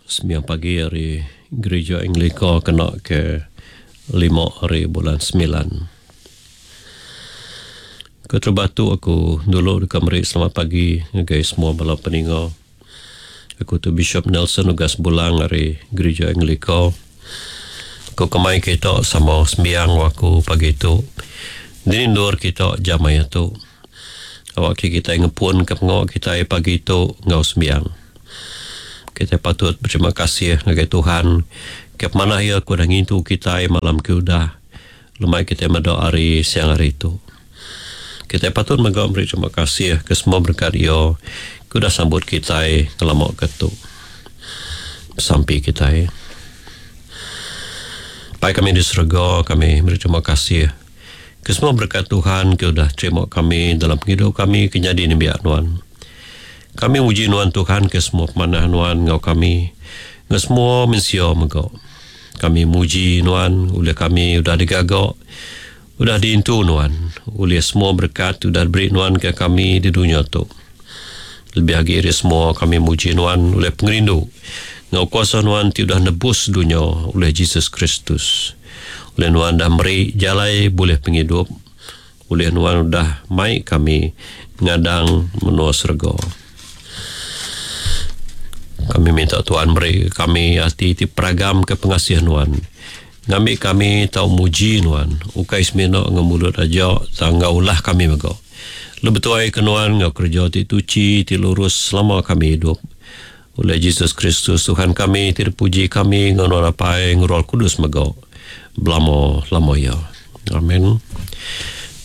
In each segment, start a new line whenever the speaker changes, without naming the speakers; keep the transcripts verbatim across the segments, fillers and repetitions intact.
Sembiang pagi ari Gereja Anglika kena ke lima hari bulan semilan. Keterubah tu aku dulu deka meri selamat pagi ngagai semua bala peninga. Aku tu Bishop Nelson Ugas Bulang ari Gereja Anglika. Aku kemai kita sama sembiang aku pagi tu. Dini endur kita jam maya tu. Awak ke kita ngepun ke pengawa kita pagi tu ngau sembiang. Kita patut berterima kasih ngagai Tuhan ke manah ia ku dah ngintu kita malam ke udah lemai kita meda hari siang hari tu. Kita patut mega beri terima kasih ke semua berkat ia ke udah sambut kita ngelama ke tu. Sampai kita. Pai kami di surga, kami beri terima kasih ke semua berkat Tuhan ke udah terima kami dalam penghidup kami ke jadi nembiak nuan. Kami muji nuan Tuhan ke semua pemanah nuan ngau kami ngau semua mensia mega. Kami muji nuan oleh kami udah digagak, udah diintu nuan, oleh semua berkat udah diberi nuan ke kami di dunia tu. Lebih lagi dari semua kami muji nuan oleh pengerindu ngau kuasa nuan ti udah nebus dunia oleh Jesus Kristus. Oleh nuan dah meri jalai boleh penghidup, oleh nuan udah mai kami ngadang menua serga. Kami minta Tuhan beri kami hati ti peragam ke pengasih nuan. Ngambil kami tau muji nuan. Ukai semina ngemulut aja tangga ulah kami mega. Lebih tuai ke nuan ngau kerja ti tuci ti lurus selama kami hidup. Oleh Jesus Kristus Tuhan kami ti dipuji kami ngau nuan apai ngurul kudus mega. Belamo lamo ya. Amin.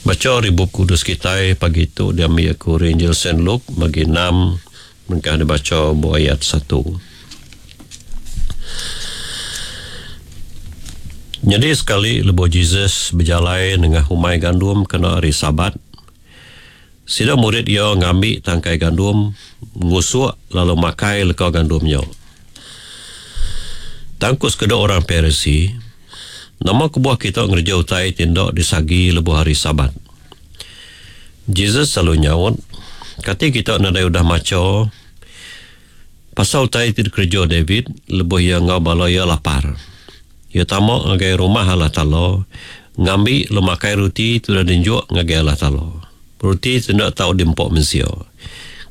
Baca ribu kudus kita pagi tu diambil aku Injil Saint Luke bagi enam. Mereka dibaca buah ayat satu. Jadi sekali lebuh Jesus berjalai dengan humai gandum kena hari Sabat. Sida murid ia ngambil tangkai gandum, ngusuk lalu makai leka gandumnya. Tangkus kedua orang Parisi, nama kebuah kita ngerja utai tindak disagi lebuh hari Sabat. Jesus selalu nyaut, kata kita nadai udah maca pasal utai ti kerja David lebuh ia ngau bala ia lapar. Ia tamak ngagai rumah Allah Ta'ala, ngambil lu makai roti tu dah dinjuk ngagai Allah Ta'ala. Roti tu nak tahu dimpok mensia.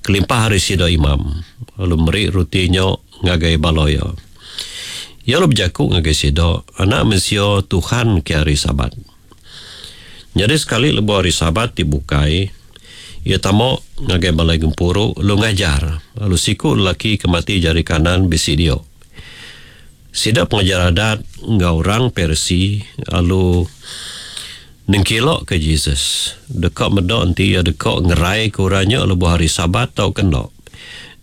Kelimpah hari sida imam, lalu meri rotinya ngagai bala ia. Ia lalu berjakuk ngagai sida, anak mensia Tuhan ke hari Sabat. Jadi sekali lebuh hari Sabat dibukai, ia tamak ngagai balai gempuru lu ngajar. Lalu siku lelaki kemati jari kanan bisi dia. Sida pengajar adat ngau orang Persi lalu nengkilok ke Jesus. Dekak medak nanti ia dekak ngerai ke orangnya lebuh hari Sabat tau kena.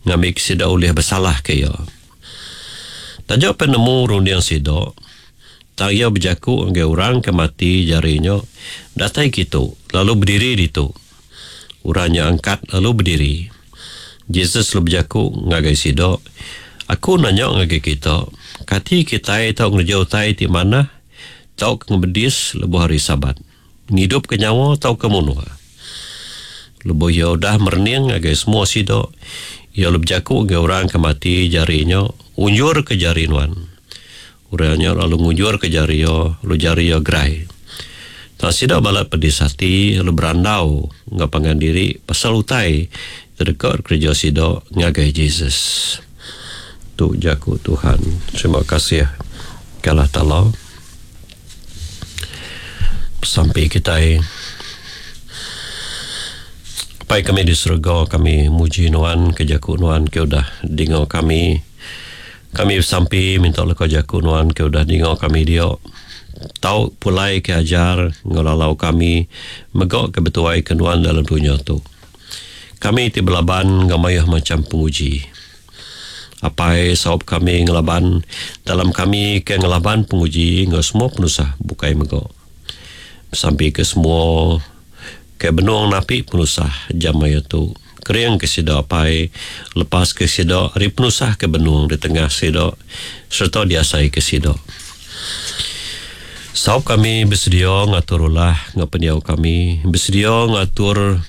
Ngambil sida oleh bersalah ke ia. Tajuk penemu runding sida. Tak ia berjakuk ngagai orang kemati jarinya datai kitu lalu berdiri ditu. Orangnya angkat lalu berdiri. Jesus lalu berjakuk ngagai sida. Aku nanya ngagai kita, kati kita tau ngerja utai ti mana tau ke ngebedis lebuh hari Sabat. Ngidup ke nyawa tau ke munuh. Lebuh ia udah merening ngagai semua sida, ia lalu berjakuk ngagai orang ke mati jarinya, unjur ke jari nuan. Orangnya lalu ngunjur ke jari ia, lalu jari ia gerai. Tak sida balat pedis hati, lalu berandau ngau pangan diri pasal utai terdekat kerja sida ngagai Jesus. Tu jaku Tuhan. Terima kasih ke Allah Ta'ala. Sampai kita Pai kami di surga, kami muji nuan ke jaku nuan ke udah dengar kami. Kami sampai minta leka jaku nuan ke udah dengar kami dia. Tau pulai ke ajar ngelalau kami megak ke betuai ke nuan dalam dunia tu. Kami ti belaban ngamayah macam penguji. Apai saup kami ngelaban dalam kami ke ngelaban penguji ngau semua penusah bukai megak. Sampai ke semua ke benuang napi penusah jam maya tu. Kering ke sida apai lepas ke sida ari penusah ke benuang di tengah sida serta diasai ke sida. Saup kami bersedia ngatur ulah ngau pendiau kami, bersedia ngatur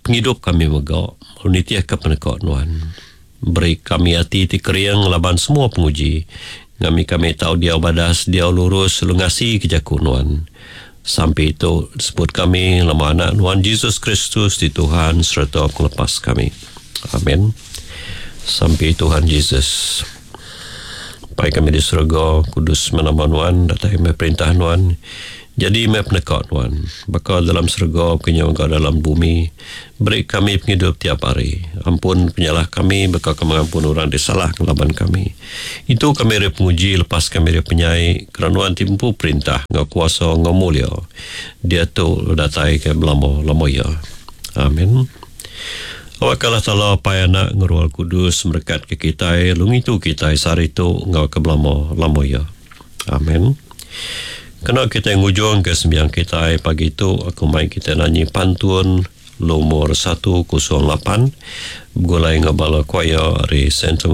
penghidup kami megak, nitiah ke penekak nuan. Beri kami ati ti kering laban semua penguji. Ngami kami tau diau badas, diau lurus, lalu ngasi ke jaku Nuan. Sampi tu sebut kami lama anak Nuan Jesus Kristus di Tuhan serta penglepas kami. Amin. Sampi Tuhan Jesus. Pai kami di surga, kudus nama Nuan, datai mai perintah Nuan. Jadi mai peneka Nuan. Baka dalam surga, kenya mega dalam bumi. Beri kami penghidup tiap hari. Ampun penyalah kami, baka kami mengampun orang di salah ngelaban kami. Itu kami dari penguji, lepas kami dari penyai, kerana Nuan timpu perintah, ngau kuasa, ngau mulia. Dia tu datai ke belama-lama ya. Amin. Awak Allah Ta'ala pai anak ngerual kudus merekat ke kita, lungi tu kita sehari tu ngau ke belama-lama ya. Amin. Kena kita ngujung ke sembiang kita pagi tu aku mai kita nyanyi pantun nomor satu kosong lapan begulai ngau bala choir dari Center